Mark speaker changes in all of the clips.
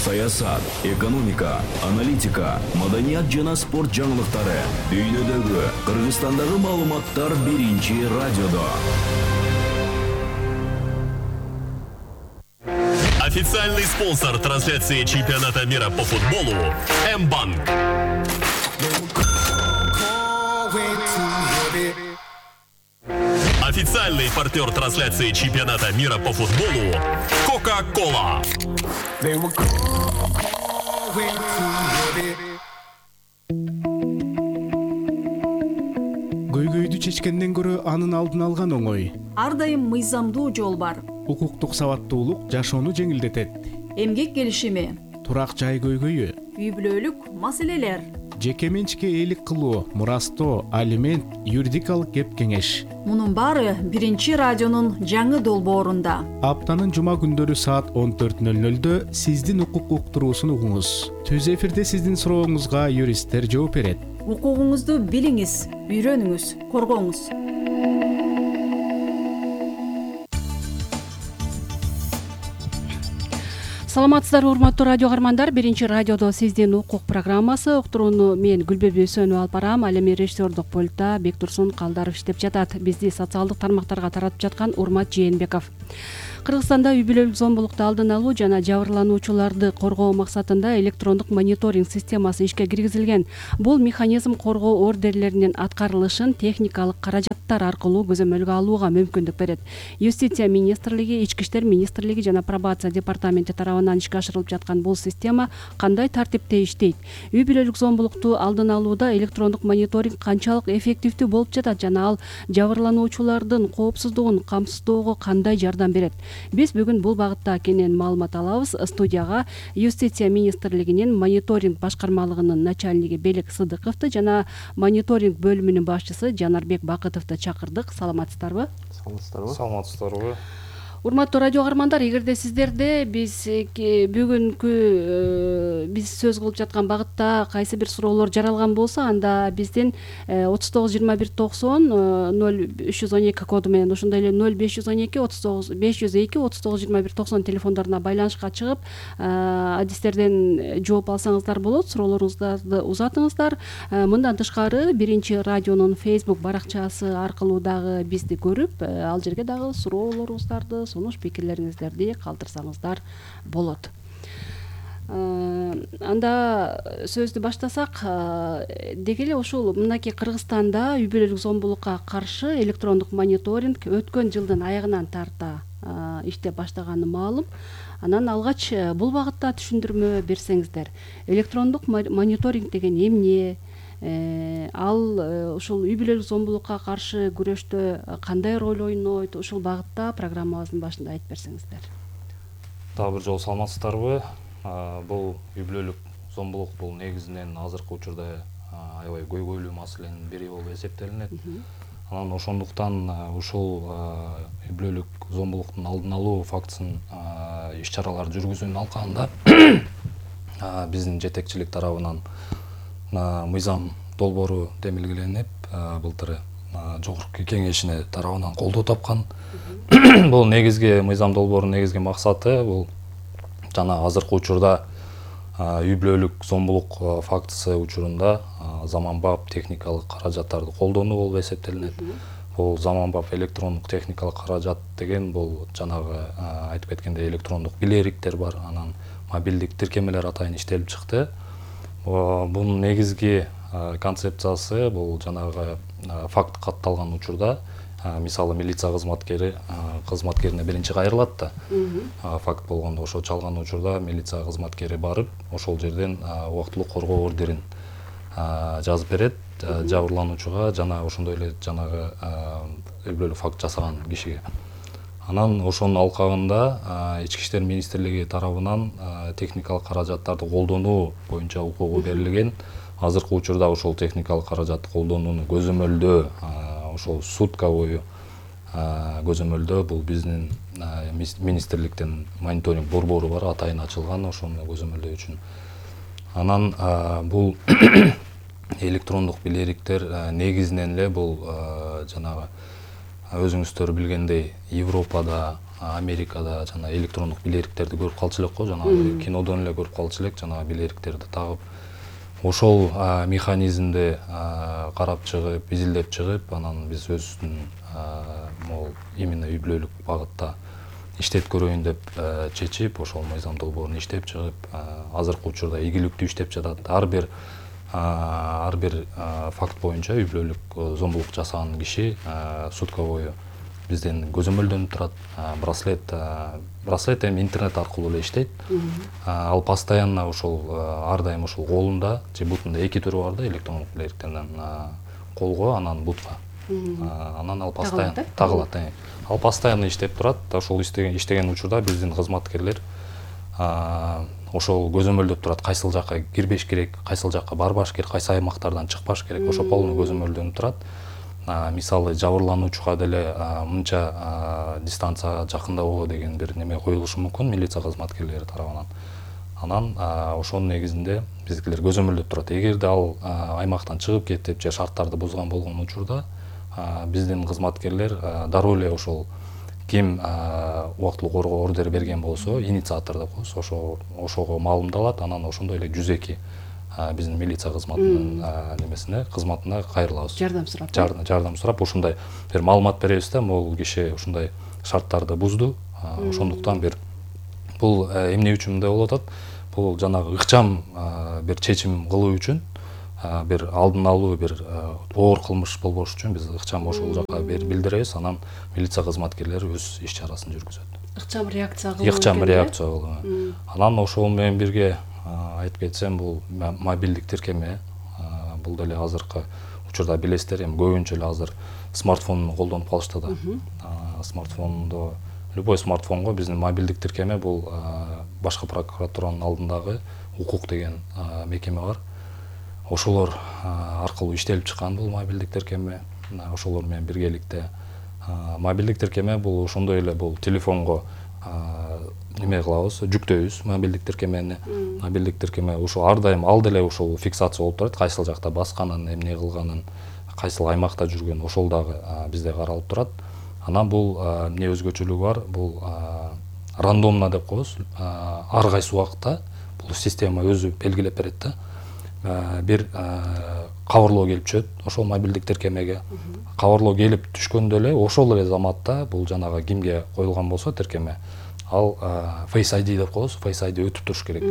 Speaker 1: саясат, экономика, аналитика, маданият жана спорт жаңылыктары, дүйнөдөгү, Кыргызстандагы маалыматтар биринчи радиодо.
Speaker 2: Официальный спонсор трансляции чемпионата мира по футболу М-банк. Официальный партнер трансляции чемпионата мира по футболу Кока-Кола.
Speaker 3: Көйгөйдү чечкенден көрө анын алдын алган оңой.
Speaker 4: Ар дайым мыйзамдуу жол бар.
Speaker 3: Укуктук сабаттуулук жашоону жеңилдетет.
Speaker 4: Эмгек келишими,
Speaker 3: Турак жай көйгөйү,
Speaker 4: үй бүлөлүк маселелер.
Speaker 3: жеке менчикке ээлик кылуу, мурастоо, алимент, юридикалык кеп кеңеш.
Speaker 4: Мунун баары биринчи радионун жаңы долбоорунда.
Speaker 3: Аптанын жума күндөрү саат 14:00 сиздин укук уктуруусун угуңуз. Түз эфирде сиздин сурооңузга юристтер жооп берет.
Speaker 4: Укугуңузду билиңиз, үйрөнүңүз, коргоңуз.
Speaker 5: Саламатсыздарбы, урматтуу радио каармандар. Биринчи радиодо сиздин укук программасы. Уктурууну мен Гүлбеби Өсөнүп алып барам. Ал эми режиссердук пультта Бектурсун Калдаров иштеп жатат. Бизди социалдык тармактарга таратып жаткан Урмат Жээнбеков. Кыргызстанда үй бүлөлүк зомбулукту алдын алуу жана жабырлануучуларды коргоо максатында электрондук мониторинг системасы ишке киргизилген. Бул механизм коргоо ордерлеринин аткарылышын техникалык каражаттар аркылуу көзөмөлгө алууга мүмкүндүк берет. Юстиция министрлиги, Ички иштер министрлиги жана пробация департаменти тарабынан ишке ашырылып жаткан бул система кандай тартипте иштейт? Үй бүлөлүк зомбулукту алдын алууда электрондук мониторинг канчалык эффективдүү болуп жатат жана ал жабырлануучулардын коопсуздугун камсыздоого кандай жардам берет? Биз бүгүн бул багытта кенен маалымат алабыз. Студияга Юстиция министрлигинин мониторинг башкармалыгынын начальниги Белек Сыдыковду жана мониторинг бөлүмүнүн башчысы Жанарбек Бакытовду чакырдык. Саламатсыздарбы?
Speaker 6: Саламатсыздарбы.
Speaker 5: Урматтуу радио каармандар, эгерде сиздерде бүгүнкү биз сөз кылып жаткан багытта кайсы бир суроолор жаралган болсо, анда биздин 39-21-90-0312 коду менен, ошондой эле 0512-502-39-21-90 телефондоруна байланышка чыгып, адистерден жооп алсаңыздар болот. Суроолоруңуздарды узатыңыздар. Мындан тышкары биринчи радионун Facebook баракчасы аркылуу дагы бизди көрүп, ал жерге дагы суроолоруңуздарды, сунуш пикирлериңиздерди калтырсаңыздар болот. Анда сөздү баштасак, деги эле ушул мынакей Кыргызстанда үй бүлөлүк зомбулукка каршы электрондук мониторинг өткөн жылдын аягынан тарта иштеп баштаганы маалым. Анан алгач бул багытта түшүндүрмө берсеңиздер. Электрондук мониторинг деген эмне? Ал ушул үй бүлөлүк зомбулукка каршы күрөштө кандай роль ойнойт? Ушул багытта программабыздын башында айтып берсеңиздер.
Speaker 6: Дагы бир жолу саламатсыздарбы? Бул үй бүлөлүк зомбулук бул негизинен азыркы учурда аябай көйгөйлүү маселенин бири болуп эсептелинет. Анан ошондуктан ушул үй бүлөлүк зомбулуктун алдын алуу фактысын иш-чаралар жүргүзүүнүн алкагында биздин жетекчилик тарабынан мыйзам долбоору демилгеленип, былтыр жогорку кеңешине тарабынан колдоо тапкан. Бул негизги мыйзам долбоорунун негизги максаты бул жана азыркы учурда үй бүлөлүк зомбулук фактысы учурунда заманбап техникалык каражаттарды колдонуу болуп эсептелинет. Бул заманбап электрондук техникалык каражат деген бул жанагы айтып кеткендей электрондук билериктер бар, анан мобилдик тиркемелер атайын иштелип чыкты. Бунун негизги концепциясы бул жанагы факт катталган учурда, мисалы милиция кызматкерине биринчи кайрылат да. Факт болгондо ошо чалган учурда милиция кызматкери барып, ошол жерден убактылуу коргоо ордерин жазып берет жабырлануучуга жана ошондой эле жанагы үй бүлөлүк факт жасаган кишиге. Анан ошонун алкагында Ички иштер министрлиги тарабынан техникалык каражаттарды колдонуу боюнча укугу берилген. Азыркы учурда ошол техникалык каражатты колдонууну көзөмөлдөө, ошол сутка бою көзөмөлдөө бул биздин министрликтен мониторинг борбору бар, атайын ачылган ошону көзөмөлдөө үчүн. Анан бул электрондук билериктер негизинен эле бул жанагы өзүңүздөр билгендей Европада, Америкада жана электрондук билериктерди көрүп калчу элек го, жанагы кинодон эле көрүп калчу элек, жанагы билериктерди тагып. Ошол механизмди карап чыгып, изилдеп чыгып, анан биз өзүбүздүн могул именно үй бүлөлүк багытта иштеп көрөйүн деп чечип, ошол мыйзам долбоорун иштеп чыгып, азыркы учурда ийгиликтүү иштеп жатат. Ар бир факт боюнча үй бүлөлүк зомбулук жасаган киши сутка бою бизден көзөмөлдөнүп турат. Браслет эми интернет аркылуу эле иштейт. Ал постоянно ошол ар дайым ошол колунда же бутунда эки түрү бар да, электрондук билериктерден колго, анан бутка. Анан ал постоянно тагылат. Ал постоянно иштеп турат. Ошол иштеген учурда биздин кызматкерлер ошол көзөмөлдөп турат, кайсыл жакка кирбеш керек, кайсыл жакка барбаш керек, кайсы аймактардан чыкпаш керек, ошо полный көзөмөлдөнүп турат. Мисалы жабырлануучуга деле мынча дистанцияга жакындабоо деген бир неме коюлушу мүмкүн милиция кызматкерлери тарабынан. Анан ошонун негизинде биздикилер көзөмөлдөп турат. Эгерде ал аймактан чыгып кетип же шарттарды бузган болгон учурда биздин кызматкерлер дароо эле ошол ким убактылуу коргоо ордер берген болсо, инициатор деп коебуз, ошого маалымдалат, анан ошондой эле 102 биздин милиция кызматынын немесине, кызматына кайрылабыз. Жардам сурап, ушундай бир маалымат беребиз да, могул киши ушундай шарттарды бузду. Ошондуктан бул эмне үчүн мындай болуп атат? Бул жанагы ыкчам бир чечим кылуу үчүн, бир алдын алуу, бир оор кылмыш болбош үчүн биз ыкчам ошол жакка билдиребиз, анан милиция кызматкерлери өз иш чарасын жүргүзөт.
Speaker 5: Ыкчам реакция кылуу.
Speaker 6: Ыкчам реакция кылуу. Анан ошол менен бирге айтып кетсем, бул мобилдик тиркеме, бул деле азыркы учурда билесиздер, эми көбүнчө эле азыр смартфон колдонуп калышты да. Смартфондо, любой смартфонго биздин мобилдик тиркеме, бул башкы прокуратуранын алдындагы укук деген мекеме бар. Ошолор аркылуу иштелип чыккан бул мобилдик тиркеме. Ошолор менен биргеликте мобилдик тиркеме бул ошондой эле, бул телефонго неме кылабыз, жүктөйбүз мобилдик тиркемени. Мобилдик тиркеме ошо ар дайым ал деле ошол фиксация болуп турат, кайсыл жакта басканын, эмне кылганын, кайсыл аймакта жүргөн, ошол дагы бизде каралып турат. Анан бул эмне өзгөчөлүгү бар? Бул рандомно деп коебуз. Ар кайсы убакытта бул система өзү белгилеп берет да. Бир кабарлоо келип түшөт ошол мобилдик тиркемеге. Кабарлоо келип түшкөндө эле ошол эле заматта бул жанагы кимге коюлган болсо тиркеме, ал Face ID деп коебуз, Face ID өтүп туруш керек.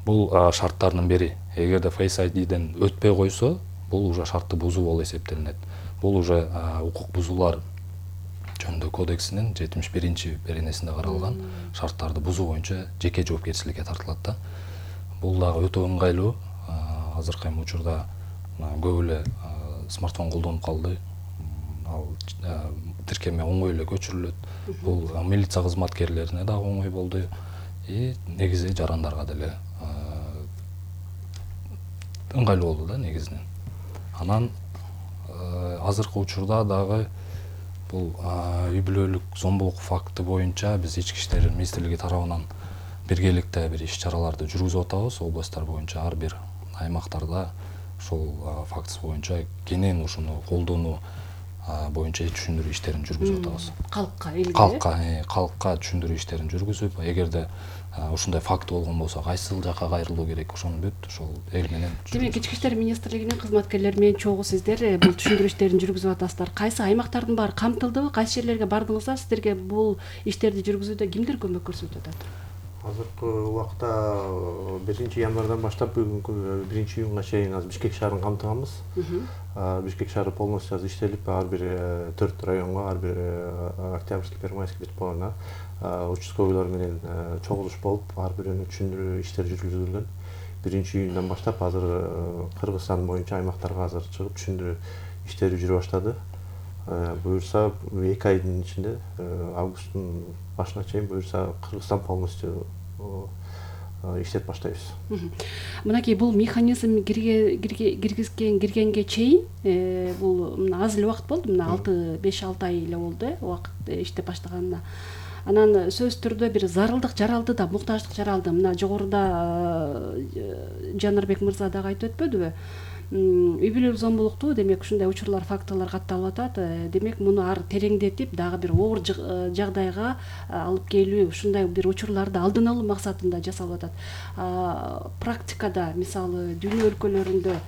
Speaker 6: Бул шарттардын бири. Эгерде Face ID-ден өтпөй койсо, бул уже шартты бузуу болуп эсептелинет. Бул уже укук бузуулар жөнүндө кодексинин 71-чи беренесинде каралган шарттарды бузуу боюнча жеке жоопкерчиликке тартылат да. Бул дагы өтө ыңгайлуу. Азыркы учурда көп эле смартфон колдонуп калды. Ал тиркеме оңой эле көчүрүлөт. Бул милиция кызматкерлерине дагы оңой болду. Негизи жарандарга деле ыңгайлуу болду да негизинен. Анан азыркы учурда дагы бул үй бүлөлүк зомбулук факты боюнча биз Ички иштер министрлиги тарабынан биргеликте бир иш чараларды жүргүзүп атабыз. Областтар боюнча ар бир аймактарда ошол фактысы боюнча кенен ушуну колдонуу боюнча түшүндүрүү иштерин жүргүзүп атабыз. Калкка түшүндүрүү иштерин жүргүзүп, эгерде ушундай факт болгон болсо кайсыл жакка кайрылуу керек, ошону бүт ошол эл менен.
Speaker 5: Демек Ички иштер министрлигинин кызматкерлери менен чогуу сиздер бул түшүндүрүү иштерин жүргүзүп атасыздар. Кайсы аймактардын баары камтылдыбы? Кайсы жерлерге бардыңыздар? Сиздерге бул иштерди жүргүзүүдө кимдер көмөк көрсөтүп атат?
Speaker 7: Азыркы убакта 1 январдан баштап бүгүнкү 1-июнга чейин Бишкек шаарын камтыганбыз. Бишкек шаары полностью иштелип, ар бир 4 районго, ар бир Октябрьский, Первомайский бетболуна участковыйлар менен чогулуш болуп, ар биринин түшүндүрүү иштери жүргүзүлгөн. 1-июндан баштап азыр Кыргызстан боюнча аймактарга азыр чыгып түшүндүрүү иштери жүрө баштады. Буюрса 2 айдын ичинде, августтун башына чейин буюрса Кыргызстан полностью иштеп баштайбыз.
Speaker 5: Мынакей бул механизм киргенге чейин бул аз эле убакыт болду, мына 5-6 ай эле болду убакыт иштеп баштаганына. Анан сөзсүз түрдө бир зарылдык жаралды да, муктаждык жаралды. Мына жогоруда Жанарбек мырза дагы айтып өтпөдүбү? үй бүлөлүк зомбулукту демек ушундай учурлар, фактылар катталып атат. Демек муну ары тереңдетип дагы бир оор жагдайга алып келүү, ушундай бир учурларды алдын алуу максатында жасалып атат. Практикада мисалы дүйнө өлкөлөрүндө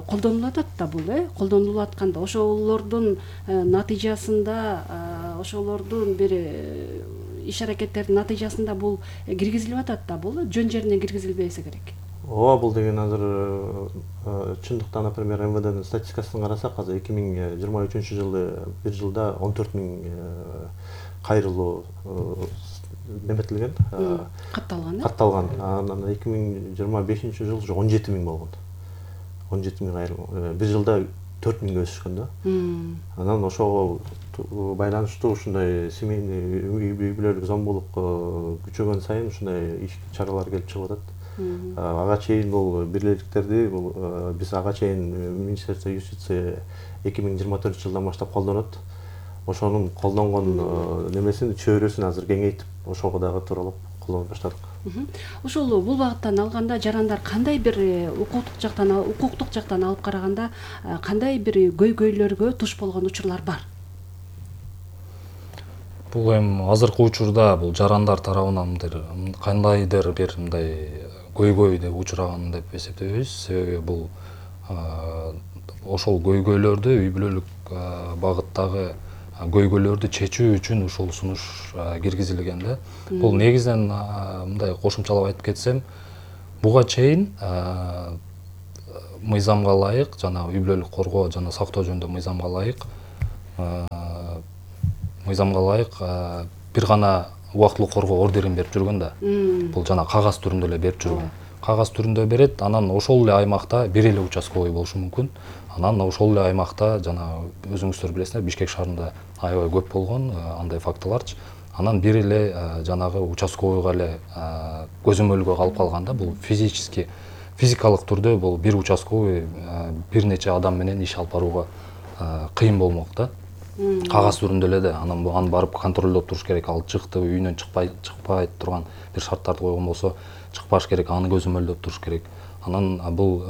Speaker 5: колдонулуп атат да бул, колдонулуп атканда ошолордун натыйжасында, ошолордун бир иш аракеттердин натыйжасында бул киргизилип атат да бул жөн жерине киргизилбесе керек.
Speaker 7: Ооба, бул деген азыр чындыкта, например, МВДнын статистикасын карасак, азыр 2023-жылы бир жылда 14 000 кайрылуу неметилген, катталган. Анан 2025-жылы 17 000 болгон. 17 000 кайрылуу. Бир жылда 4 000 өсүшкөн да. Анан ошого байланыштуу ушундай семейный үй бүлөлүк зомбулук күчөгөн сайын ушундай иш чаралар келип чыгып атат. Ага чейин бул бирликтерди биз ага чейин Министерство юстиция 2024-жылдан баштап колдонот. Ошонун колдонгон немесин чөйрөсүн азыр кеңейтип ошого дагы тууралап колдонуп баштадык.
Speaker 5: Ошол бул багыттан алганда жарандар кандай бир укуктук жактан алып караганда кандай бир көйгөйлөргө туш болгон учурлар бар?
Speaker 6: Бул эми азыркы учурда бул жарандар тарабынан кандайдыр бир мындай көйгөй деп учураган деп эсептебейбиз. Себеби бул ошол көйгөйлөрдү үй бүлөлүк багыттагы көйгөйлөрдү чечүү үчүн ушул сунуш киргизилген да. Бул негизинен мындай кошумчалап айтып кетсем, буга чейин мыйзамга ылайык, жана үй бүлөлүк коргоо жана сактоо жөнүндө мыйзамга ылайык бир гана убактылуу коргоо ордерин берип жүргөн да. Бул жана кагаз түрүндө эле берип жүргөн. Кагаз түрүндө берет, анан ошол эле аймакта бир эле участковый болушу мүмкүн. Анан ошол эле аймакта жана өзүңүздөр билесиздер, Бишкек шаарында аябай көп болгон андай фактыларчы. Анан бир эле жанагы участковыйга эле көзөмөлгө калып калганда, бул физикалык түрдө бул бир участковый бир нече адам менен иш алып барууга кыйын болмок да. Кагаз түрүндө эле да. Анан аны барып контролдоп туруш керек. Ал чыкты, үйүнөн чыкпай турган бир шарттарды койгон болсо, чыкпаш керек, аны көзөмөлдөп туруш керек. Анан бул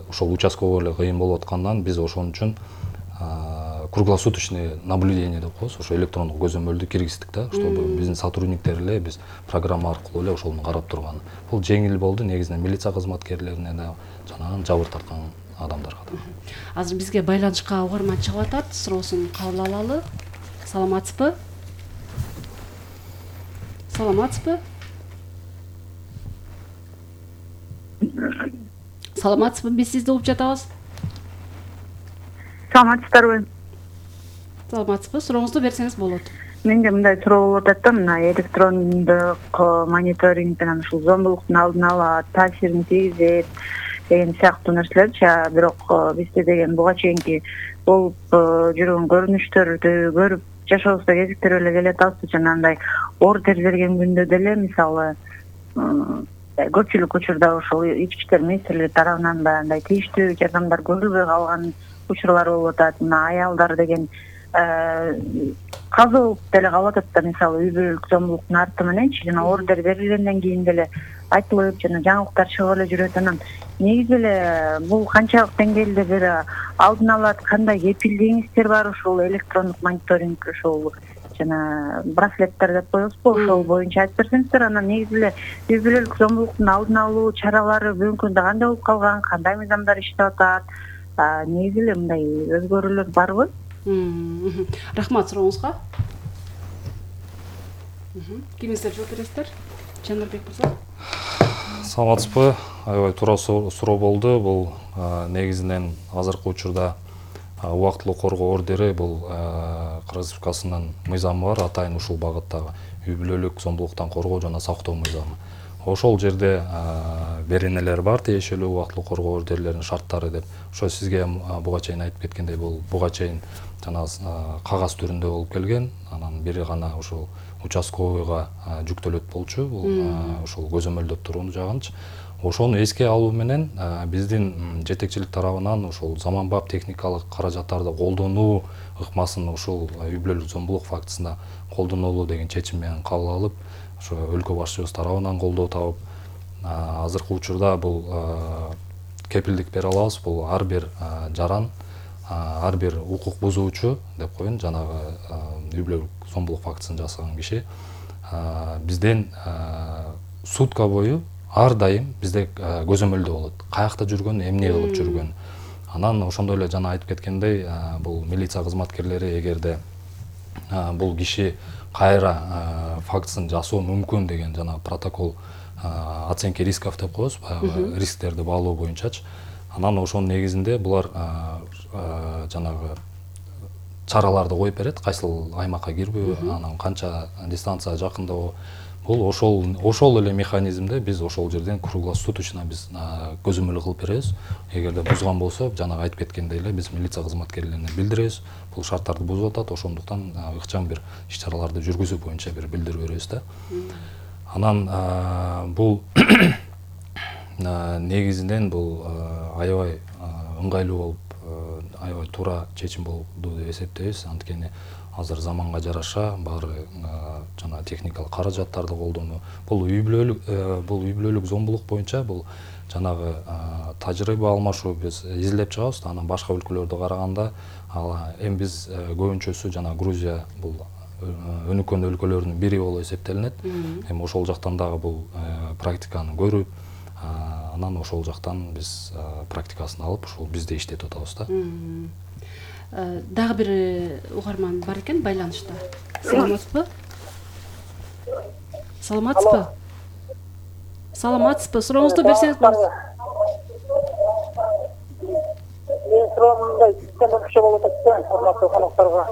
Speaker 6: ошол участковый эле кыйын болуп аткандан биз ошон үчүн круглосуточный наблюдение деп коебуз, ошо электрондук көзөмөлдү киргиздик да, чтобы биздин сотрудниктер эле биз программа аркылуу эле ошону карап турган. Бул жеңил болду, негизинен милиция кызматкерлерине да, жана жабыр тарткан адамдарга да.
Speaker 5: Азыр бизге байланышка угарман чыгып атат, суроосун кабыл алалы. Саламатсызбы? Саламатсызбы? Биз сизди угуп жатабыз.
Speaker 8: Саламатсыздарбы?
Speaker 5: Саламатсызбы? Сурооңузду берсеңиз болот.
Speaker 8: Менде мындай суроо болуп атат да, мына электрондук мониторинг менен ушул зомбулуктун алдын ала таасирин тийгизет деген сыяктуу нерселерчи. Бирок бизде деген буга чейинки болуп жүргөн көрүнүштөрдү көрүп жашообузда кезиктирип эле келатабыз. Жана андай ордер берген күндө деле мисалы көпчүлүк учурда ошол ички иштер министрлиги тарабынан да андай тийиштүү жардамдар көрүлбөй калган учурлар болуп атат. Мына аялдар деген казылып деле калып атат да, мисалы үй бүлөлүк зомбулуктун арты мененчи, жана ордер берилгенден кийин деле айтылып жана жаңылыктар чыгып эле жүрөт. Анан негизи эле бул канчалык деңгээлде бир алдын алат, кандай кепилдигиңиздер бар ушул электрондук мониторинг, ушул жана браслеттер деп коебузбу, ошол боюнча айтып берсеңиздер. Анан негизи эле үй бүлөлүк зомбулуктун алдын алуу чаралары бүгүнкү күндө кандай болуп калган, кандай мыйзамдар иштеп атат, негизи эле мындай өзгөрүүлөр барбы?
Speaker 5: Рахмат сурооңузга. Кимиңиздер жооп бересиздер? Жандарбек мырза.
Speaker 6: Саламатсызбы? Аябай туура суроо болду. Бул негизинен азыркы учурда убактылуу коргоо ордери бул Кыргыз Республикасынын мыйзамы бар, атайын ушул багыттагы үй бүлөлүк зомбулуктан коргоо жана сактоо мыйзамы. Ошол жерде беренелер бар, тиешелүү убактылуу коргоо ордерлеринин шарттары деп. Ошо сизге буга чейин айтып кеткендей, бул буга чейин жана кагаз түрүндө болуп келген. Анан бири гана ушул участковыйга жүктөлөт болчу, бул ошол көзөмөлдөп турууну жагынчы. Ошону эске алуу менен биздин жетекчилик тарабынан ушул заманбап техникалык каражаттарды колдонуу ыкмасын ушул үй бүлөлүк зомбулук фактысына колдонолу деген чечим менен кабыл алып, ошо өлкө башчыбыз тарабынан колдоо табып, азыркы учурда бул кепилдик бере алабыз. Бул ар бир жаран, ар бир укук бузуучу деп коеюн, жанагы үй бүлөлүк зомбулук фактысын жасаган киши бизден сутка бою ар дайым бизде көзөмөлдө болот. Каякта жүргөн, эмне кылып жүргөн. Анан ошондой эле жана айтып кеткендей, бул милиция кызматкерлери эгерде бул киши кайра фактысын жасоо мүмкүн деген жана протокол оценки рисков деп коебуз, баягы рисктерди баалоо боюнчачы. Анан ошонун негизинде булар жанагы чараларды коюп берет, кайсыл аймакка кирбөө, анан канча дистанция жакындабоо. Бул ошол эле механизмде биз ошол жерден круглосуточно биз көзөмөл кылып беребиз. Эгерде бузган болсо, жанагы айтып кеткендей эле биз милиция кызматкерлерине билдиребиз. Бул шарттарды бузуп атат, ошондуктан ыкчам бир иш-чараларды жүргүзүү боюнча бир билдирүү беребиз да. Анан бул негизинен бул аябай ыңгайлуу болуп, аябай туура чечим болду деп эсептейбиз. Анткени азыр заманга жараша баары жана техникалык каражаттарды колдонуу. Бул үй бүлөлүк зомбулук боюнча бул жанагы тажрыйба алмашуу биз изилдеп чыгабыз. Анан башка өлкөлөрдө караганда эми биз көбүнчөсү жана Грузия бул өнүккөн өлкөлөрдүн бири болуп эсептелинет. Эми ошол жактан дагы бул практиканы көрүп, анан ошол жактан биз практикасын алып, ушул бизде иштетип атабыз да.
Speaker 5: Дагы бир угарман бар экен байланышта. Саламатсызбы? Саламатсызбы? Сурооңузду берсеңиз болот.
Speaker 9: Мен суроомду айтып болот экен, урматтуу конокторго.